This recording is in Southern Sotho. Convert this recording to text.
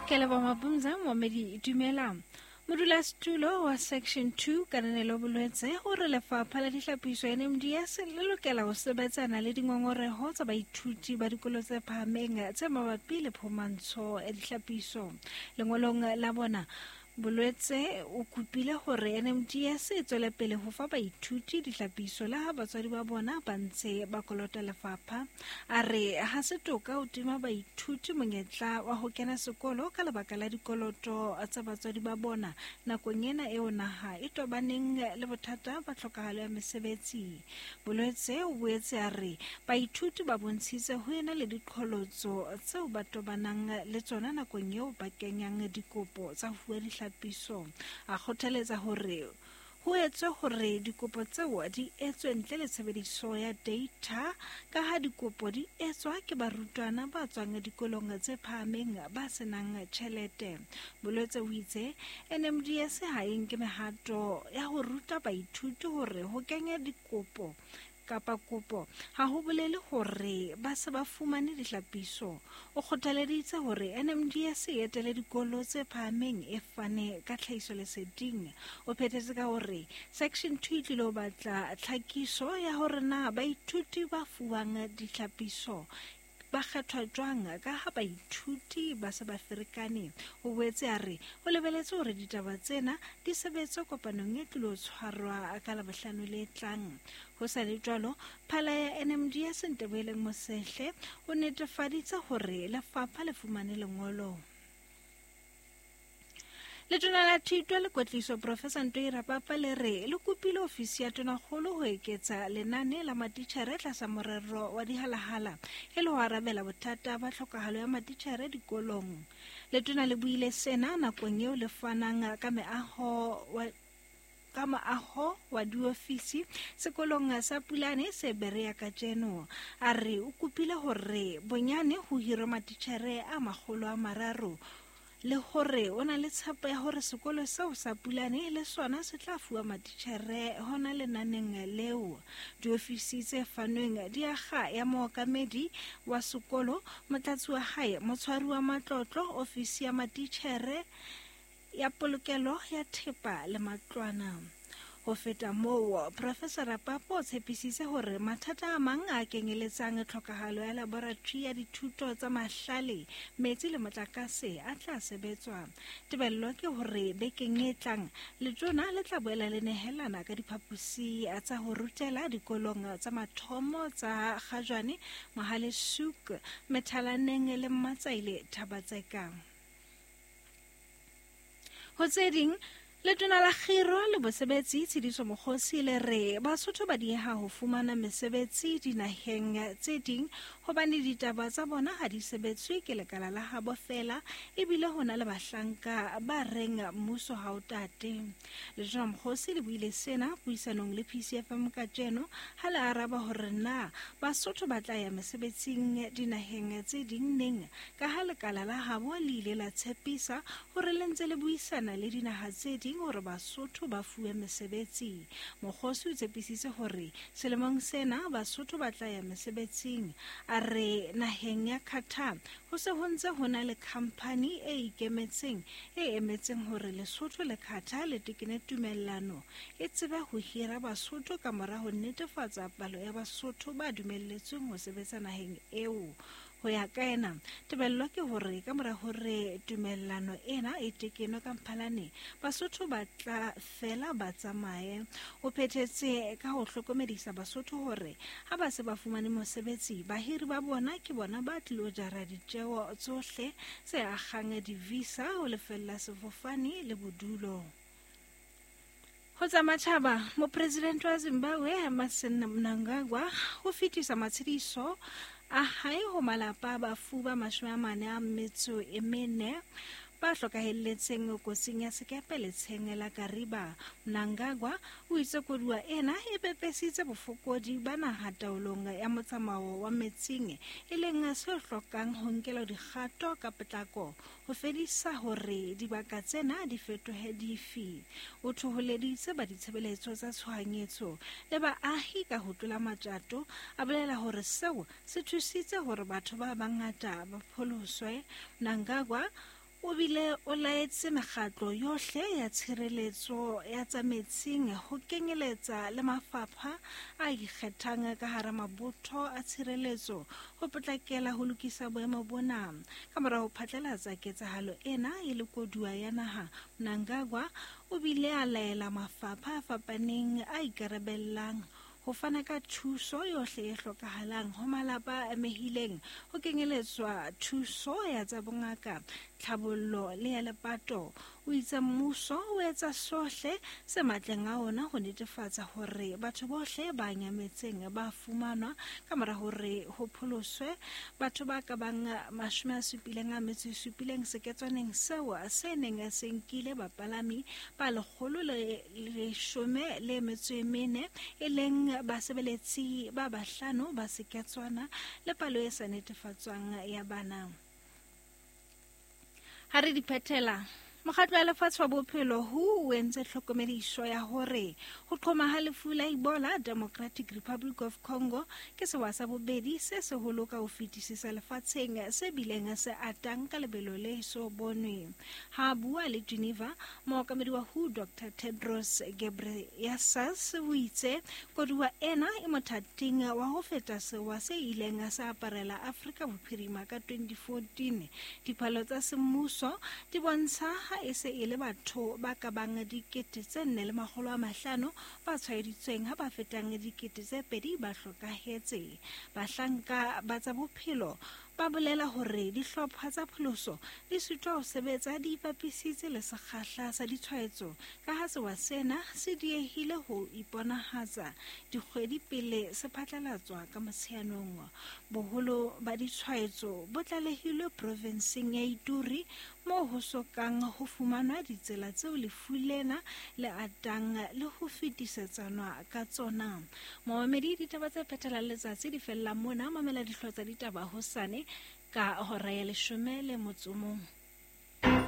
Ke leboha Mabumza, momedi dumela. Modulasetulo wa Section 2 Kananelo Bolwetse o re lefapha la dihlapiso NMDS le lokela ho sebetsana le dingongoreho tsa baithuti ba dikolo tse phahameng tse mabapi le phumantsho ya dihlapiso. Lengolong la bona, Bolwetse o kopile hore NMDS e tswele pele ho fa baithuti dihlapiso le ha batswadi ba bona ba ntse ba kolota lefapha. A re ha se toka ho tima baithuti monyetla wa ho kena sekolo ka lebaka la dikoloto tsa batswadi ba bona nakong ena eo naha e tobaneng le bothata ba tlhokahalo ya mesebetsi. Bolwetse o boetse a re baithuti ba bontshitse ho ena le diqholotso tseo ba tobanang le tsona nakong eo ba kenyang dikopo tsa ho fuwa dihlapiso. A kgothaletsa hore ho etswe hore dikopo tseo di etswe ntle le tshebediso ya data ka ha dikopo di etswa ke barutwana ba tswang dikolong tse phahameng ba senang tjhelete. Bolwetse o itse NMDS ha e nke mehato ya ho ruta baithuti hore ho kenya dikopo kapa kopo ha ho bolele hore ba se ba fumane dihlapiso. O kgothaleditse hore NMDS e etele dikolo tse phahameng e fane ka tlhahisoleseding. O phethetse ka hore Section 2 e tlilo batla tlhakiso ya hore na baithuti ba fuwang dihlapiso ba kgethwa jwang ka ha baithuti ba se ba ferekane. O boetse a re o lebeletse hore ditaba tsena di sebetswe kopanong e tlilo tshwarwa ka Labohlano le tlang. Ho sa le jwalo, phala ya NMDS Nteboheleng Mosehle o netefaditse hore lefapha le fumane lengolo. Letona la Thuto le Kwetliso Professor Ntoi Rapapa le re le kopile ofisi ya tonakgolo ho eketsa lenane la matitjhere tlasa morero wa dihalahala e le ho arabela bothata ba tlhokahalo ya matitjhere dikolong. Letona le buile sena nakong eo le fanang ka meaho wa ka moaho wa diofisi sekolong sa Pulane se Berea kajeno. A re o kopile hore bonyane ho hirwe matitjhere a 300 le hore o na le tshepo ya hore sekolo seo sa Pulane le sona se tla fuwa matitjhere hona lenaneng leo. Diofisi tse fanweng di akga ya mookamedi wa sekolo, motlatsi wa hae, motshwari wa matlotlo, ofisi ya matitjhere, ya polokelo ya thepa le matlwana. Ho feta moo, Professor Rapapo o tshepisitse hore mathata a mang a kenyeletsang tlhokahalo ya laboratory ya dithuto tsa mahlale, metsi le motlakase a tla sebetswa. Tebello ke hore bekeng e tlang, letona le tla boela le nehelana ka diphaposi tsa ho rutela dikolong tsa mathomo tsa Kgajwane, Mohale Soek, Methalaneng le Mmatsaile Thabatseka. Ho tse ding, letona la kgiro le bosebetsi Tshidiso Mokgosi le re Basotho ba dieha ho fumana mesebetsi dinaheng tse ding hobane ditaba tsa bona ha di sebetswe ke lekala la habo feela ebile ho na le bahlanka ba reng mmuso ha o tate. Letona Mokgosi le buile sena puisanong le PCFM kajeno ha le araba hore na Basotho ba tla ya mesebetsing dinaheng tse ding neng ka ha lekala la habo le ile la tshepisa hore le ntse le buisana le dinaha tse ding hore Basotho ba fuwe mesebetsi. Mokgosi o tshepisitse hore selemong sena Basotho ba tla ya mesebetsing. A re naheng ya Qatar ho se ho ntse ho na le khamphani e ikemetseng e emetseng hore Lesotho le Qatar le tekene tumellano e tsebe ho hira Basotho ka mora ho netefatsa palo ya Basotho ba dumelletsweng ho sebetsa naheng eo. Ho ya ka ena, tebello ke hore ka mora hore tumellano ena e tekenwe ka Mphalane, Basotho ba tla fela ba tsamaye. O phethetse ka ho hlokomedisa Basotho hore ha ba se ba fumane mosebetsi, bahiri ba bona ke bona ba tlilo jara ditjeo tsohle tse akgang di-visa, ho lefella sefofane le bodulo. Ho tsa matjhaba, Mopresidente wa Zimbabwe Emmerson Mnangagwa o fetisa matshediso a hae ho malapa a bafu ba 44 ba hlokahelletseng kotsing ya sekepe letsheng la Kariba. Mnangagwa o itse koduwa ena e pepesitse bofokodi ba naha taolong ya motsamao wa metsing, e leng se hlokang ho nkelwa dikgato ka potlako ho fedisa hore dibaka tsena di fetohe difi. O thoholeditse ba ditshebeletso tsa tshohanyetso le baahi ka ho tlola matjato, a bolela hore seo se thusitse hore batho ba bangata ba pholoswe. Mnangagwa O bile o laetse mekgatlo yohle ya tshireletso ya tsa metsing ho kenyeletsa le mafapha a ikgethang ka hara mabotho a tshireletso ho potlakela ho lokisa boemo bona. Ka mora ho phatlalatsa ketsahalo ena e le koduwa ya naha, Mnangagwa o bile a laela mafapha a fapaneng a ikarabellang ho fana ka thuso yohle e hlokahalang ho malapa a amehileng, ho kenyeletswa thuso ya tsa bongaka, tlhabollo le ya lepato. O itse mmuso o etsa sohle se matleng a ona ho netefatsa hore batho bohle ba nyametseng ba fumanwa ka mora hore ho pholoswe batho ba ka bang 77 seketswaneng seo se neng se nkile bapalami ba 114, e leng basebeletsi ba bahlano ba seketswana le palo e sa netefatswang ya bana. Ha re di phethela, Mokgatlo wa Lefatshe wa Bophelo WHO o entse tlhokomediso ya hore ho qhoma ha lefu la Ebola Democratic Republic of Congo ke sewa sa bobedi se seholo ka ho fetisisa lefatsheng se bileng se atang ka lebelo le so bonwe. Ha a bua le Geneva, mookamedi wa WHO Dr. Tedros Ghebreyesus o itse koduwa ena e mothating wa ho feta sewa se ileng sa aparela Afrika Bophirima ka 2014. Dipalo tsa semmuso di bontsha ha e se e le batho ba ka bang 4,500 ba tshwaeditsweng, ha ba fetang 2,000 ba hlokahetse. Bahlanka ba tsa bophelo ba bolela hore dihlopha tsa pholoso di sitwa ho sebetsa di ipapisitse le sekgahla sa ditshwaetso, ka ha sewa sena se diehile ho iponahatsa dikgwedi pele se phatlalatswa ka Motsheanong. Boholo ba ditshwaetso bo tlalehilwe provenseng ya Ituri, moo ho sokang ho fumanwa ditsela tseo lefu lena le atang le ho fetisetsanwa ka tsona. Momamedi, ditaba tse phethelang letsatsi di fella mona. Mamela dihlooho tsa ditaba hosane ka hora ya 11.